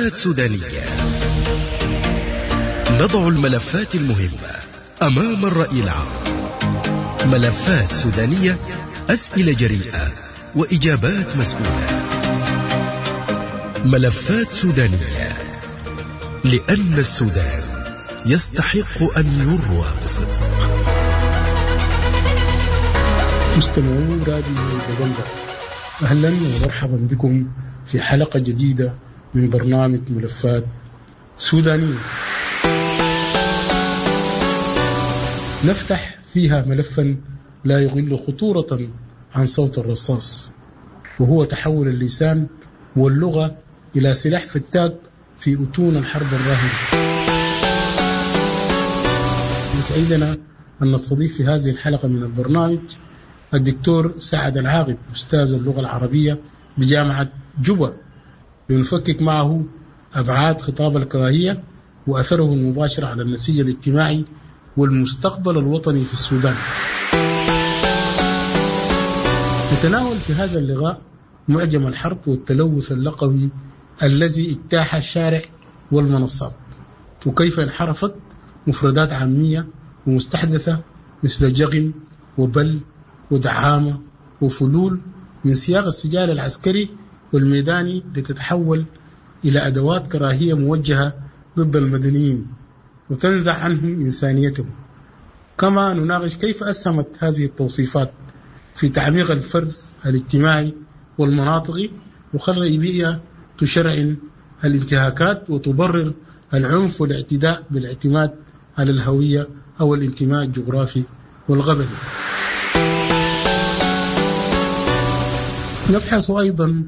ملفات سودانية. نضع الملفات المهمة أمام الرأي العام. ملفات سودانية، أسئلة جريئة وإجابات مسؤولة. ملفات سودانية، لأن السودان يستحق أن يروى بصدق. مستمعو راديو دبنقا، أهلا ومرحبا بكم في حلقة جديدة من برنامج ملفات سودانية، نفتح فيها ملفا لا يقل خطورة عن صوت الرصاص، وهو تحول اللسان واللغة إلى سلاح فتاك في أتون الحرب الراهنة. يسعدنا أن نستضيف في هذه الحلقة من البرنامج الدكتور سعد العاقب، أستاذ اللغة العربية بجامعة جوبا، لنفكك معه أبعاد خطاب الكراهية وأثره المباشر على النسيج الاجتماعي والمستقبل الوطني في السودان. نتناول في هذا اللقاء معجم الحرب والتلوث اللغوي الذي اجتاح الشارع والمنصات، وكيف انحرفت مفردات عامية ومستحدثة مثل جغم وبل ودعامة وفلول من سياق السجال العسكري والميداني لتتحول إلى أدوات كراهية موجهة ضد المدنيين وتنزع عنهم إنسانيتهم. كما نناقش كيف أسهمت هذه التوصيفات في تعميق الفرز الاجتماعي والمناطقي وخلق بيئة تشرعن الانتهاكات وتبرر العنف والاعتداء بالاعتماد على الهوية أو الانتماء الجغرافي والقبلي. نبحث أيضا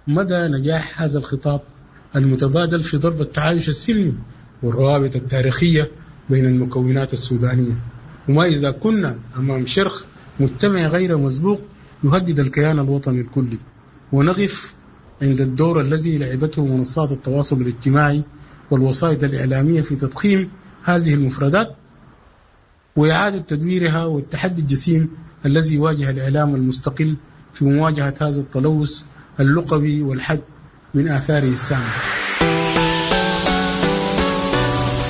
مدى نجاح هذا الخطاب المتبادل في ضرب التعايش السلمي والروابط التاريخية بين المكونات السودانية، وما إذا كنا أمام شرخ مجتمعي غير مسبوق يهدد الكيان الوطني الكلي. ونقف عند الدور الذي لعبته منصات التواصل الاجتماعي والوسائط الإعلامية في تضخيم هذه المفردات وإعادة تدويرها، والتحدي الجسيم الذي يواجه الإعلام المستقل في مواجهة هذا التلوث اللغوي والحد من آثاره السامة.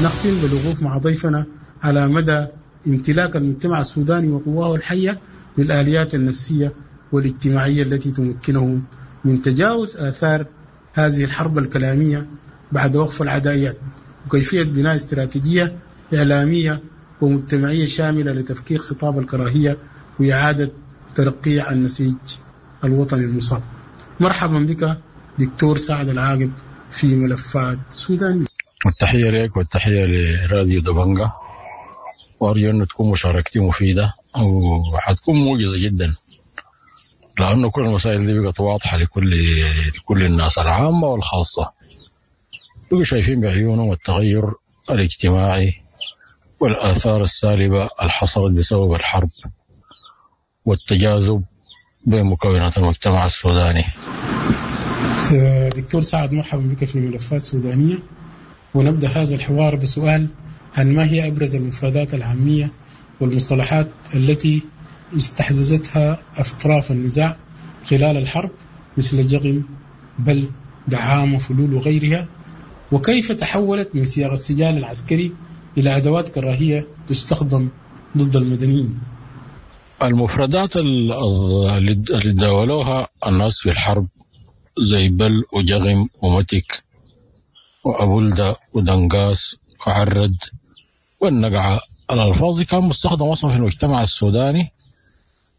نختم بالوقوف مع ضيفنا على مدى امتلاك المجتمع السوداني وقواه الحية للآليات النفسية والاجتماعية التي تمكنهم من تجاوز آثار هذه الحرب الكلامية بعد وقف العدائيات، وكيفية بناء استراتيجية إعلامية ومجتمعية شاملة لتفكيك خطاب الكراهية وإعادة ترقيع النسيج الوطني المصاب. مرحبا بك دكتور سعد العاقب في ملفات سودانية. التحية لك والتحية لراديو دبنقا، وأرجو أن تكون مشاركتي مفيدة وحتكون موجزة جدا، لأنه كل المسائل دي بقت واضحة لكل الناس العامة والخاصة، بقوا شايفين بعيونهم التغير الاجتماعي والآثار السالبة اللي حصلت بسبب الحرب والتجاذب بين مكونات المجتمع السوداني. دكتور سعد، مرحبا بك في ملفات سودانية. ونبدأ هذا الحوار بسؤال عن ما هي أبرز المفردات العامية والمصطلحات التي استحدثتها أطراف النزاع خلال الحرب مثل جغم، بل، دعامة، فلول وغيرها، وكيف تحولت من سياق السجال العسكري إلى أدوات كراهية تستخدم ضد المدنيين. المفردات اللي داولوها الناس في الحرب زي بل وجغم ومتك وأبولدا ودنقاس وعرد والنقعة، الألفاظ دي كان مستخدم أصلا في المجتمع السوداني،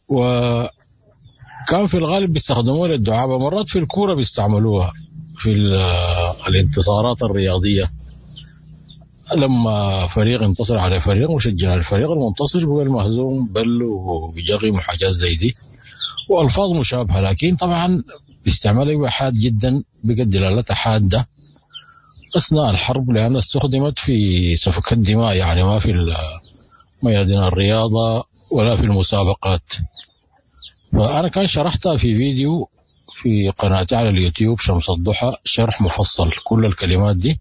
وكان في الغالب بيستخدموها للدعابة، مرات في الكورة بيستعملوها في الانتصارات الرياضية، لما فريق انتصر على فريق مشجع الفريق المنتصر هو المهزوم بل وجغم وحاجات زي دي وألفاظ مشابهة، لكن طبعا باستعمالها حاد جدا، بقت دلالتها حادة أثناء الحرب لأنها استخدمت في سفك الدماء، يعني ما في ميادين الرياضة ولا في المسابقات. فأنا كان شرحتها في فيديو في قناتي على اليوتيوب شمس الضحى، شرح مفصل كل الكلمات دي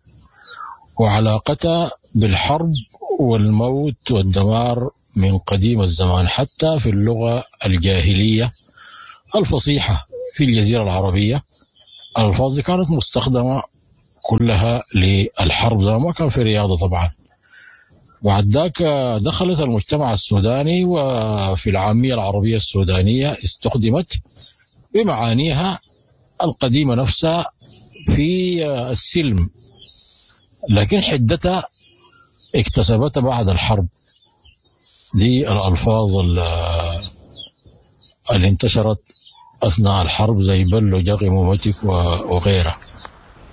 وعلاقتها بالحرب والموت والدمار من قديم الزمان، حتى في اللغة الجاهلية الفصيحة في الجزيرة العربية الألفاظ دي كانت مستخدمة كلها للحرب، زي ما كان في رياضة طبعا. بعد ذاك دخلت المجتمع السوداني، وفي العامية العربية السودانية استخدمت بمعانيها القديمة نفسها في السلم، لكن حدتها اكتسبتها بعد الحرب. دي الألفاظ اللي انتشرت أثناء الحرب زي بل وجغم ومتك وغيرها.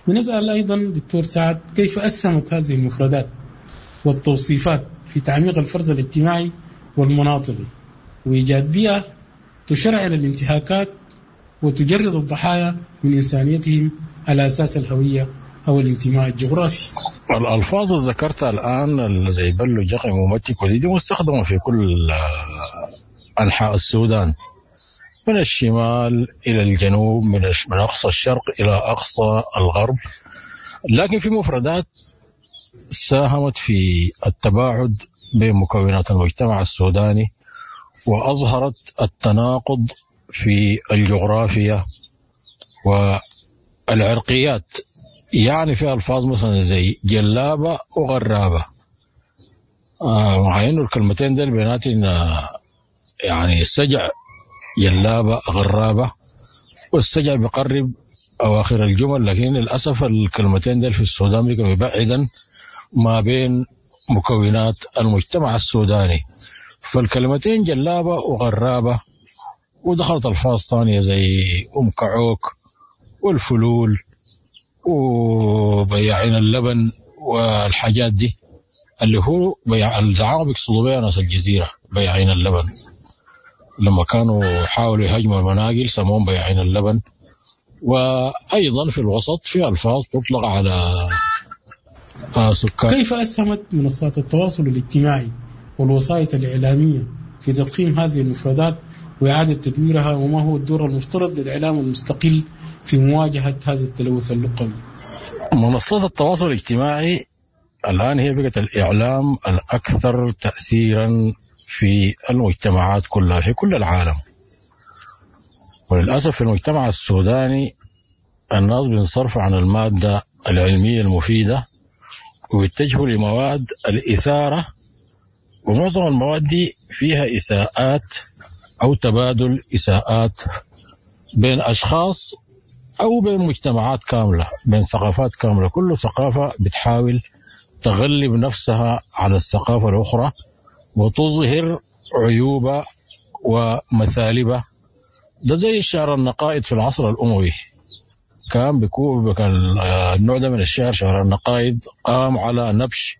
بنسأل أيضا دكتور سعد، كيف أسهمت هذه المفردات والتوصيفات في تعميق الفرز الاجتماعي والمناطقي وإيجاد بيئة تشرعن الانتهاكات وتجرد الضحايا من إنسانيتهم على أساس الهوية أو الانتماء الجغرافي؟ الألفاظ اللي ذكرتها الآن زي بل وجغم ومتك ودي دي مستخدمة في كل أنحاء السودان، من الشمال إلى الجنوب، من أقصى الشرق إلى أقصى الغرب. لكن في مفردات ساهمت في التباعد بين مكونات المجتمع السوداني وأظهرت التناقض في الجغرافيا والعرقيات. في ألفاظ مثلا زي جلابة وغرابة، مع إنه الكلمتين دول بيناتنا السجع جلابة غرابة، والسجع بيقرب أواخر الجمل، لكن للأسف الكلمتين دول في السودان بيبقوا بعيدا ما بين مكونات المجتمع السوداني. فالكلمتين جلابة وغرابة، ودخلت ألفاظ ثانية زي أم كعوك والفلول وبياعين اللبن والحاجات دي، اللي هو بيع الدعارة بيقصدوا بيها ناس الجزيرة بياعين اللبن. لما كانوا حاولوا يهاجموا المناقل سموهم بياعين اللبن. وأيضا في الوسط في ألفاظ تطلق على سكان. كيف أسهمت منصات التواصل الاجتماعي والوسائط الإعلامية في تضخيم هذه المفردات وإعادة تدويرها، وما هو الدور المفترض للإعلام المستقل في مواجهة هذا التلوث اللغوي؟ منصات التواصل الاجتماعي الآن هي بقت الإعلام الأكثر تأثيرا في المجتمعات كلها في كل العالم. وللأسف في المجتمع السوداني الناس بينصرفوا عن المادة العلمية المفيدة ويتجهوا لمواد الإثارة، ومعظم المواد دي فيها إساءات أو تبادل إساءات بين أشخاص أو بين مجتمعات كاملة، بين ثقافات كاملة. كل ثقافة بتحاول تغلب نفسها على الثقافة الأخرى وتظهر عيوبها ومثالبها. ده زي الشعر النقائد في العصر الأموي، كان بيكون النوع ده من الشعر، شعر النقائد، قام على نبش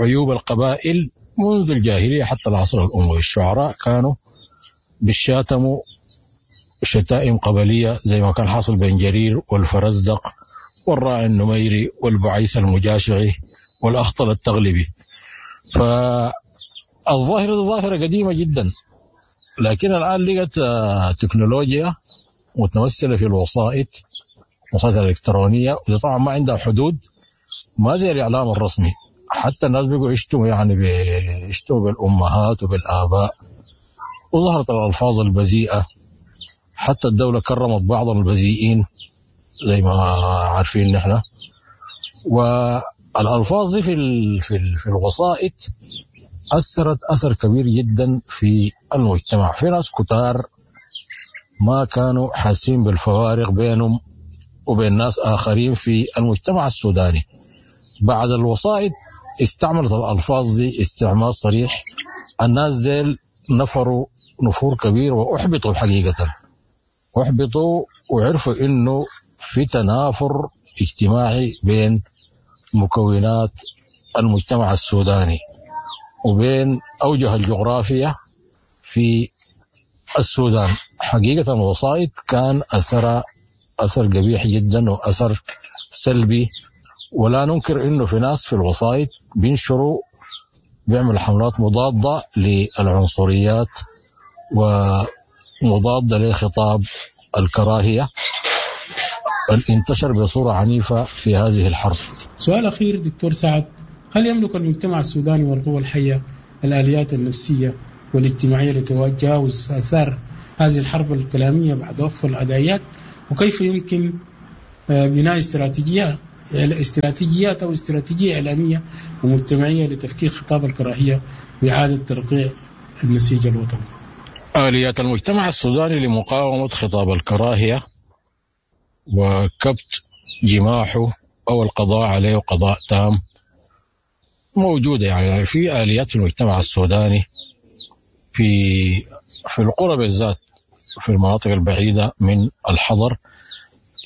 عيوب القبائل منذ الجاهلية حتى العصر الأموي. الشعراء كانوا بيشاتموا شتائم قبلية زي ما كان حاصل بين جرير والفرزدق والراعي النميري والبعيس المجاشعي والأخطل التغلبي. فالظاهرة ظاهرة قديمة جدا، لكن الآن لقت تكنولوجيا متمثلة في الوسائط الإلكترونية، ودي طبعا ما عندها حدود، ما زي الإعلام الرسمي. حتى الناس بيقوا يشتموا، يشتموا بالأمهات وبالآباء، وظهرت الألفاظ البذيئة. حتى الدولة كرمت بعض البذيئين زي ما عارفين نحن. والألفاظ دي في الوسائط أثرت أثر كبير جدا في المجتمع. في ناس كتار ما كانوا حاسين بالفوارق بينهم وبين ناس آخرين في المجتمع السوداني. بعد الوسائط استعملت الألفاظ دي استعمال صريح، الناس زيل نفروا نفور كبير وأحبطوا حقيقة، أحبطوا وعرفوا إنه في تنافر اجتماعي بين مكونات المجتمع السوداني وبين أوجه الجغرافيا في السودان. حقيقة الوسائط كان أثر قبيح جدا وأثر سلبي، ولا ننكر إنه في ناس في الوسائط بينشروا، بيعملوا حملات مضادة للعنصريات ومضادة لخطاب الكراهية انتشر بصورة عنيفة في هذه الحرب. سؤال أخير دكتور سعد، هل يملك المجتمع السوداني والقوى الحية الآليات النفسية والاجتماعية لتجاوز آثار هذه الحرب الكلامية بعد وقف العدائيات؟ وكيف يمكن بناء استراتيجية استراتيجيات أو استراتيجية إعلامية ومجتمعية لتفكيك خطاب الكراهية وإعادة ترقيع النسيج الوطني. آليات المجتمع السوداني لمقاومة خطاب الكراهية وكبت جماحه أو القضاء عليه قضاء تام موجودة، يعني في آليات في المجتمع السوداني في القرى بالذات في المناطق البعيدة من الحضر،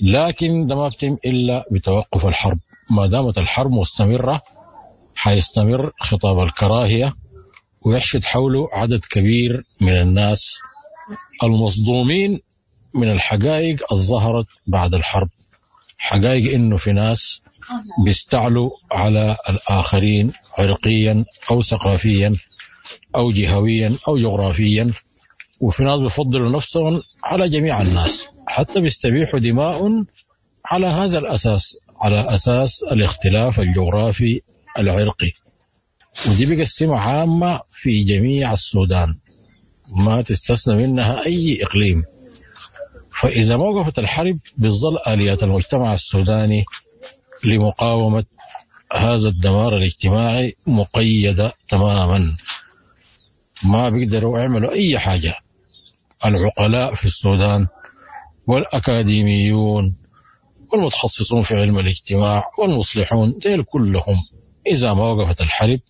لكن ده ما بتم إلا بتوقف الحرب. ما دامت الحرب مستمرة حيستمر خطاب الكراهية ويحشد حوله عدد كبير من الناس المصدومين من الحقائق الظهرت بعد الحرب، حقائق إنه في ناس بيستعلوا على الآخرين عرقيا أو ثقافيا أو جهويا أو جغرافيا، وفي ناس بيفضلوا نفسهم على جميع الناس، حتى بيستبيحوا دماء على هذا الأساس، على أساس الاختلاف الجغرافي العرقي. ودي بقت سمة عامة في جميع السودان، ما تستثنى منها أي إقليم. فإذا ما وقفت الحرب بتظل آليات المجتمع السوداني لمقاومة هذا الدمار الاجتماعي مقيدة تماما، ما بيقدروا يعملوا أي حاجة. العقلاء في السودان والأكاديميون والمتخصصون في علم الاجتماع والمصلحون ديل كلهم إذا ما وقفت الحرب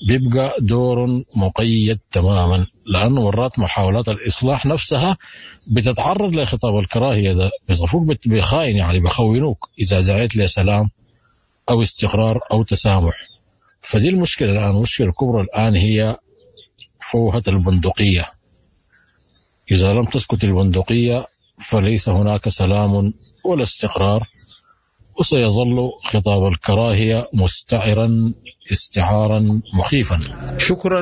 بيبقى دور مقيد تماما، لأنه مرات محاولات الإصلاح نفسها بتتعرض لخطاب الكراهية ده، بيصفوك بخائن، يعني بخونوك إذا دعيت لسلام أو استقرار أو تسامح. فدي المشكلة الآن، المشكلة الكبرى الآن هي فوهة البندقية. إذا لم تسكت البندقية فليس هناك سلام ولا استقرار، وسيظل خطاب الكراهية مستعرا استعارا مخيفا. شكرا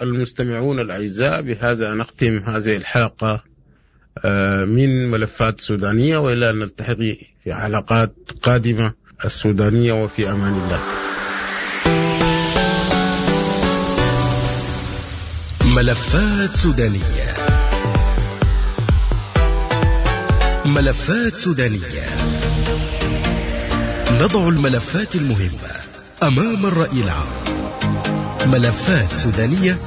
المستمعون الأعزاء، بهذا نختم هذه الحلقة من ملفات سودانية، وإلى أن نلتقي في حلقات قادمة. السودانية وفي أمان الله. ملفات سودانية، ملفات سودانية، نضع الملفات المهمة أمام الرأي العام. ملفات سودانية،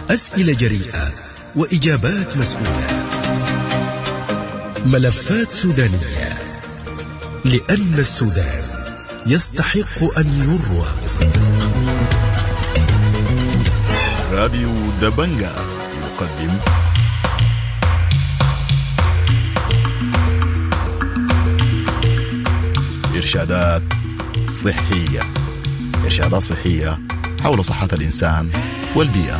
أسئلة جريئة وإجابات مسؤولة. ملفات سودانية، لأن السودان يستحق أن يروى بصدق. راديو دبنجا يقدم إرشادات صحية، إرشادات صحية حول صحة الإنسان والبيئة.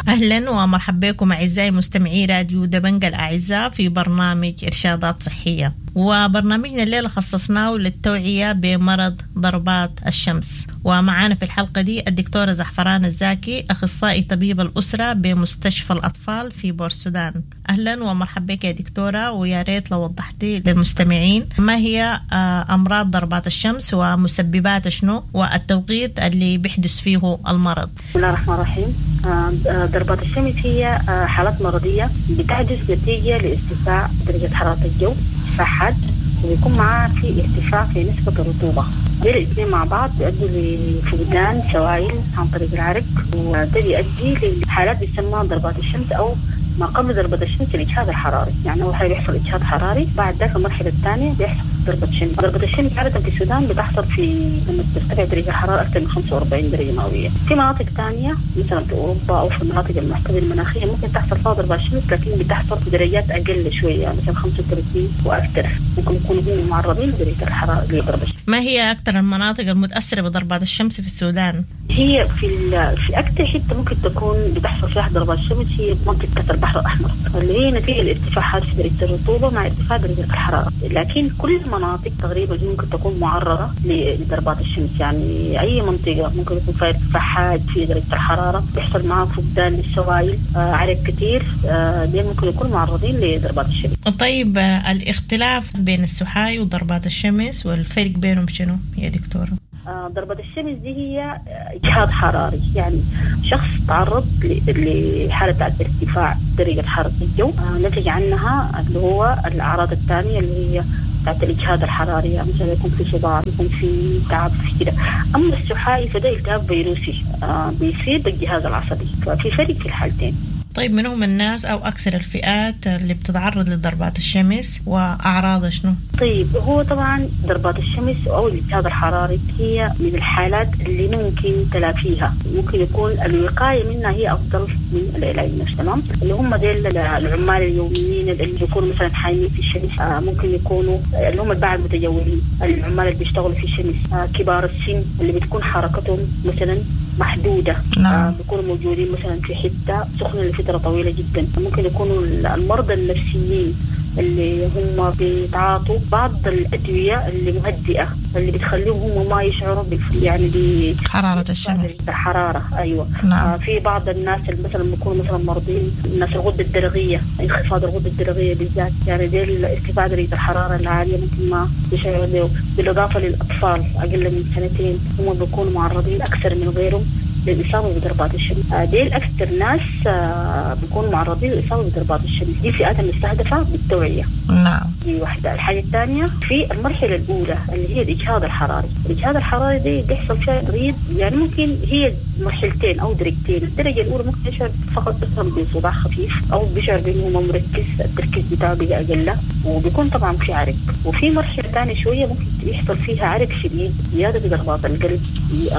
أهلا ومرحبا بكم أعزائي مستمعي راديو دبنجا الأعزاء في برنامج إرشادات صحية، وبرنامجنا الليلة خصصناه للتوعية بمرض ضربات الشمس. ومعانا في الحلقة دي الدكتورة زعفران الزاكي، أخصائي طبيب الأسرة بمستشفى الأطفال في بورسودان. أهلا ومرحبا بك يا دكتورة، ويا ريت لو وضحتي للمستمعين ما هي أمراض ضربات الشمس ومسببات شنو والتوقيت اللي بيحدث فيه المرض. بسم الله الرحمن الرحيم. ضربات الشمس هي حالات مرضية بتحدث نتيجة لارتفاع درجة حرارة الجو حاد، وبيكون معاه في ارتفاع في نسبة الرطوبة. دي الاثنين مع بعض بيؤدوا لفقدان سوائل عن طريق العرق، وده بيؤدي لحالات بيسمى ضربات الشمس أو ما قبل ضربة الشمس الإجهاد الحراري. يعني أول حاجة بيحصل إجهاد حراري، بعد ذاك المرحلة الثانية بيحصل ضربة شمس. ضربة الشمس عادة في السودان بتحصل في لما ترتفع درجة الحرارة أكثر من 45 درجة مئوية. في مناطق ثانية مثلا في أوروبا أو في المناطق المعتدلة المناخية ممكن تحصل فيها ضربة شمس، لكن بتحصل في درجات أقل شوية، مثلا 35 وأكثر، ممكن يكونوا هم معرضين لدرجة الحرارة لضربة الشمس. ما هي أكثر المناطق المتأثرة بضربات الشمس في السودان؟ هي في أكثر حتة ممكن تكون بتحصل فيها ضربات الشمس هي منطقة البحر الأحمر، اللي هي نتيجة الارتفاعات في درجة الرطوبة مع ارتفاع درجة الحرارة. لكن كل المناطق تقريبا ممكن تكون معرضة لضربات الشمس، يعني أي منطقة ممكن يكون فيها ارتفاع حاد في درجة الحرارة، بيحصل معها فقدان للسوائل، عرق كثير، دي ممكن يكونوا معرضين لضربات الشمس. طيب الاختلاف بين السحاي وضربات الشمس والفرق بينهم شنو يا دكتورة؟ ضربة الشمس دي هي إجهاد حراري، يعني شخص تعرض لحالة ارتفاع درجة حرارة الجو، نتج عنها اللي هو الأعراض الثانية اللي هي بتاعت الاجهاد الحراري، يعني مثلا يكون في صداع، يكون في تعب في كده. اما السحائي فده التهاب فيروسي بيصيب الجهاز العصبي، ففي فرق في الحالتين. طيب من هم الناس أو أكثر الفئات اللي بتتعرض لضربات الشمس وأعراضها شنو؟ طيب هو طبعا ضربات الشمس أو الالتهاب الحراري هي من الحالات اللي ممكن تلافيها، ممكن يكون الوقاية منها هي أفضل من العلاج نفسه. تمام، اللي هم ديل العمال اليوميين اللي بيكونوا مثلا حايمين في الشمس، ممكن يكونوا اللي هم الباعة المتجولين، العمال اللي بيشتغلوا في الشمس، كبار السن اللي بتكون حركتهم مثلا محدودة. نعم. بيكونوا موجودين مثلا في حتة سخنة لفترة طويلة جدا. ممكن يكونوا المرضى النفسيين اللي هم بيتعاطوا بعض الأدوية اللي مهدئة اللي بتخليهم هم ما يشعروا يعني بحرارة الشمس، الحرارة. أيوة. نعم. في بعض الناس اللي مثلا بيكونوا مثلا مرضين، الناس الغدة الدرقية، انخفاض الغدة الدرقية بالذات، يعني دي ارتفاع درجة الحرارة العالية ممكن ما يشعروا به. بالإضافة للأطفال أقل من سنتين هم بيكونوا معرضين أكثر من غيرهم للإصابة بضربات الشمس. ديل أكثر ناس بيكونوا معرضين للإصابة بضربات الشمس. دي فئات المستهدفة بالتوعية. نعم. دي واحدة. الحاجة الثانية في المرحلة الأولى اللي هي الإجهاد الحراري. الإجهاد الحراري دي بيحصل فيها مريض، يعني ممكن هي مرحلتين أو درجتين. الدرجة الأولى ممكن يشعر فقط مثلا بصداع خفيف أو بيشعر بأنه ما مركز، التركيز بتاعه بقى أقل، وبيكون طبعا في عرق. وفي مرحلة ثانية شوية ممكن يحصل فيها عرق شديد، زيادة في ضربات القلب،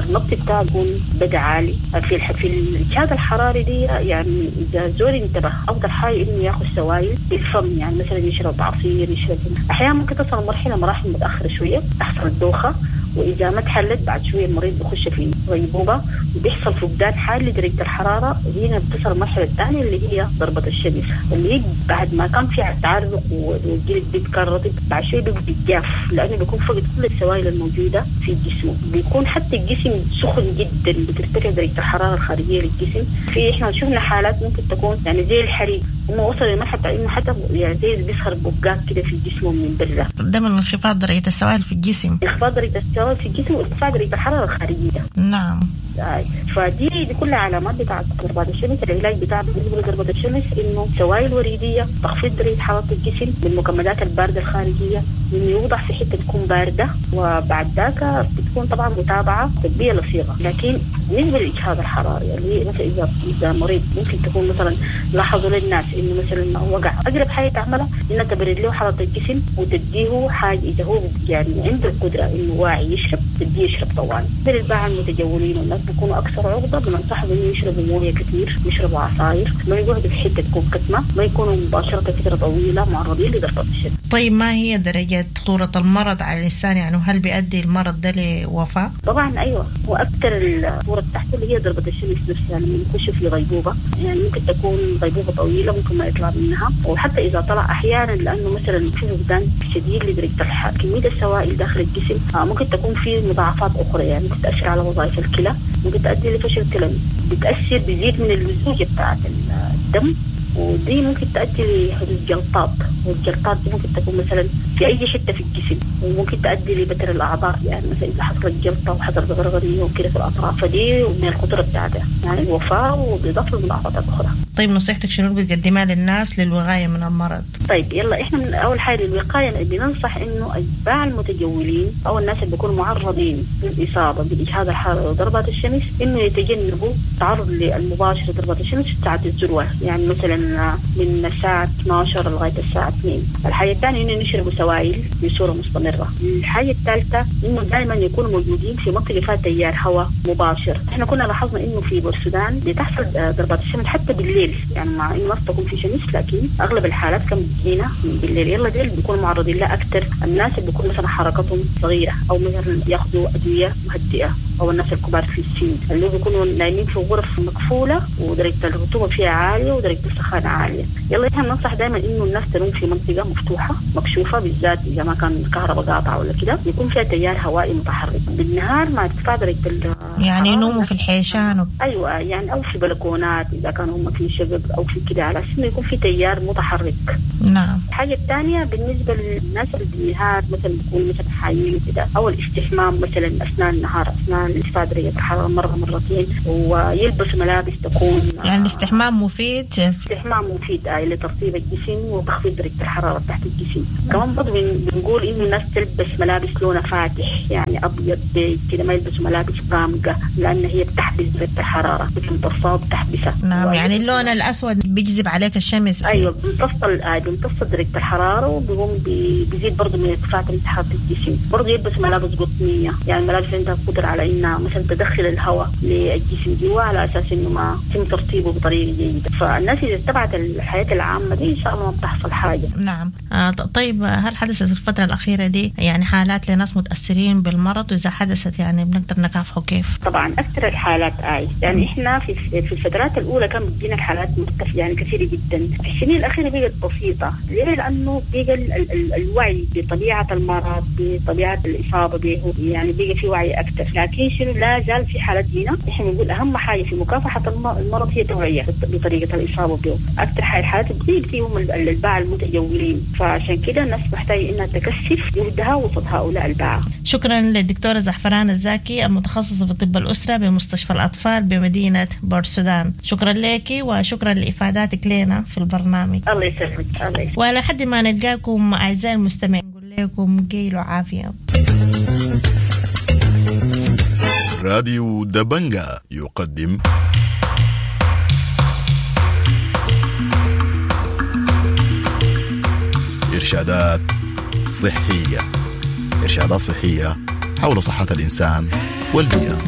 النبض بتاعه بيكون بدأ عالي. في الإجهاد الحراري دي يعني إذا زول انتبه أفضل حاجة إنه ياخذ سوائل بالفم، يعني مثلا يشرب عصير، يشرب. أحيانا ممكن تصل مرحلة مراحل متأخرة شوية تحصل الدوخة، وإذا ما تحلت بعد شوية المريض بيخش في غيبوبة وبيحصل فقدان حاد لدرجة الحرارة. هنا بتصل المرحلة الثانية اللي هي ضربة الشمس، اللي هي بعد ما كان في تعرق والجلد بيتكون رطب، بعد شوية بيبقى جاف لأنه بيكون فقد كل السوائل الموجودة في جسمه، بيكون حتى الجسم سخن جدا، بترتفع درجة الحرارة الخارجية للجسم. في إحنا شفنا حالات ممكن تكون يعني زي الحريق، هم وصل لمرحلة إنه حتى يعني زي بيظهر بقات كده في جسمه من برا. ده من انخفاض درجة السوائل في الجسم. انخفاض درجة السوائل في الجسم وارتفاع درجة الحرارة الخارجية. نعم. فدي دي كلها علامات بتاعت ضربات الشمس. العلاج بتاع بالنسبة لضربة الشمس إنه سوائل وريدية، تخفيض درجة حرارة الجسم بالمكملات الباردة الخارجية، إنه يوضع في حتة تكون باردة، وبعد ذاك بتكون طبعا متابعة طبية لصيغة. لكن بالنسبة للإجهاد الحراري اللي مثلا إذا مريض ممكن تكون مثلا لاحظوا للناس إنه مثلا وقع، أقرب حاجة تعملها إنها تبرد له حرارة الجسم وتديه حاجة إذا هو يعني عنده القدرة إنه واعي يشرب، تديه يشرب طوال. بالباعة المتجولين والناس بيكونوا أكثر عرضة، بننصحهم إنه يشربوا موية كثير، يشربوا عصاير، ما يقعدوا في حتة تكون كتمة، ما يكونوا مباشرة فترة طويلة معرضين لضربة الشمس. طيب ما هي درجة خطورة المرض على الإنسان؟ يعني هل بيؤدي المرض ده لوفاة؟ طبعا أيوة، وأكثر الخطورة بتاعته اللي هي ضربة الشمس نفسها لما يخش في غيبوبة، يعني ممكن تكون غيبوبة طويلة ممكن ما يطلع منها، وحتى إذا طلع أحيانا لأنه مثلا في فقدان شديد لدرجة كمية السوائل داخل الجسم، ممكن تكون في مضاعفات أخرى، يعني ممكن تأثر على وظائف الكلى، ممكن تؤدي لفشل كلوي، بتأثر بيزيد من اللزوجة بتاعت الدم، ودي ممكن تؤدي لحدوث جلطات، والجلطات دي ممكن تكون مثلا في أي حتة في الجسم، وممكن تؤدي لبتر الأعضاء، يعني مثلا إذا حصلت جلطة وحصلت غرغرية وكده في الأطراف، فدي من الخطورة بتاعتها يعني الوفاة وبإضافة للمضاعفات الأخرى. طيب نصيحتك شنو بتقدمها للناس للوقاية من المرض؟ طيب يلا إحنا من أول حاجة للوقاية بننصح إنه أتباع المتجولين أو الناس اللي بيكونوا معرضين للإصابة بالإجهاد الحراري وضربات الشمس إنه يتجنبوا التعرض المباشر لضربات الشمس في ساعة الذروة، يعني مثلا من الساعة 12 لغاية الساعة 2. الحاجة الثانية إنه يشربوا سوائل بصورة مستمرة. الحاجة الثالثة إنه دائما يكونوا موجودين في منطقة فيها تيار هواء مباشر. إحنا كنا لاحظنا إنه في بورسودان بتحصل ضربات الشمس حتى بالليل، يعني مع إنه ما تكون في شمس لكن أغلب الحالات كان بتجينا بالليل. يلا ديل بيكونوا معرضين لها أكثر الناس اللي بيكون مثلا حركتهم صغيرة أو مثلا ياخذوا أدوية مهدئة، أو الناس الكبار في السن اللي بيكونوا نايمين في غرف مقفولة ودرجة الرطوبة فيها عالية ودرجة السخانة عالية. يلا إحنا بننصح دائما إنه الناس تنوم في منطقة مفتوحة مكشوفة، بالذات إذا ما كان الكهرباء قاطعة ولا كده، يكون فيها تيار هوائي متحرك بالنهار مع ارتفاع درجة يعني ينوموا في الحيشان أيوة، يعني أو في بلكونات إذا كانوا هم في شقق أو في كده، على أساس إنه يكون في تيار متحرك. نعم. الحاجة الثانية بالنسبة للناس اللي بالنهار مثلا بيكونوا مثلا حايمين وكده، أو الاستحمام مثلا أثناء النهار أثناء ارتفاع درجة الحرارة مرة مرتين، ويلبس ملابس تكون يعني الاستحمام مفيد. الاستحمام مفيد لترطيب الجسم وتخفيض درجه الحرارة تحت الجسم. كمان برضه بنقول انه الناس تلبس ملابس لونها فاتح، يعني ابيض بيج كده، ما يلبسوا ملابس غامقه لان هي بتحبس درجه الحرارة، بتمتصها وبتحبسها. نعم، يعني اللون الاسود بيجذب عليك الشمس. ايوه، بيمتص درجه الحرارة وبيقوم بيزيد برضه من ارتفاع درجه حرارة الجسم. برضه يلبس ملابس قطنيه، يعني ملابس عندها قدره على انها مثلا تدخل الهواء للجسم جوا على اساس انه ما يتم ترطيبه بطريقة جيدة. فالناس اذا اتبعت الحياة العامة دي ان شاء الله ما بتحصل حاجة. نعم. طيب، هل حدثت في الفترة الاخيرة دي يعني حالات لناس متاثرين بالمرض؟ واذا حدثت يعني بنقدر نكافحه كيف؟ طبعا اكثر الحالات يعني احنا في الفترات الاولى كان بتجينا الحالات مرتفعة يعني كثيرة جدا. في السنين الاخيرة بقت بسيطة. ليه؟ لانه بقى الوعي بطبيعة المرض، بطبيعة الاصابة به، يعني بقى في وعي اكثر. لكن شنو، لا زال في حالات هنا. احنا بنقول اهم حاجة في مكافحة المرض هي توعيه بطريقة الاصابة به. اكثر الحالات بتصيب فيهم الباعة المتجولين، فعشان كده الناس محتاجه انها تكثف جهدها وسط هؤلاء الباعة. شكرا للدكتوره زعفران الزاكي المتخصصة في طب الاسرة بمستشفى الاطفال بمدينة بورسودان. شكرا لك وشكرا لافاداتك لنا في البرنامج. الله يسلمك. الله يسلمك. ولحد ما نلقاكم اعزائي المستمعين نقول لكم قيل وعافيه. راديو دبنجا يقدم إرشادات صحية. إرشادات صحية حول صحة الإنسان والبيئة.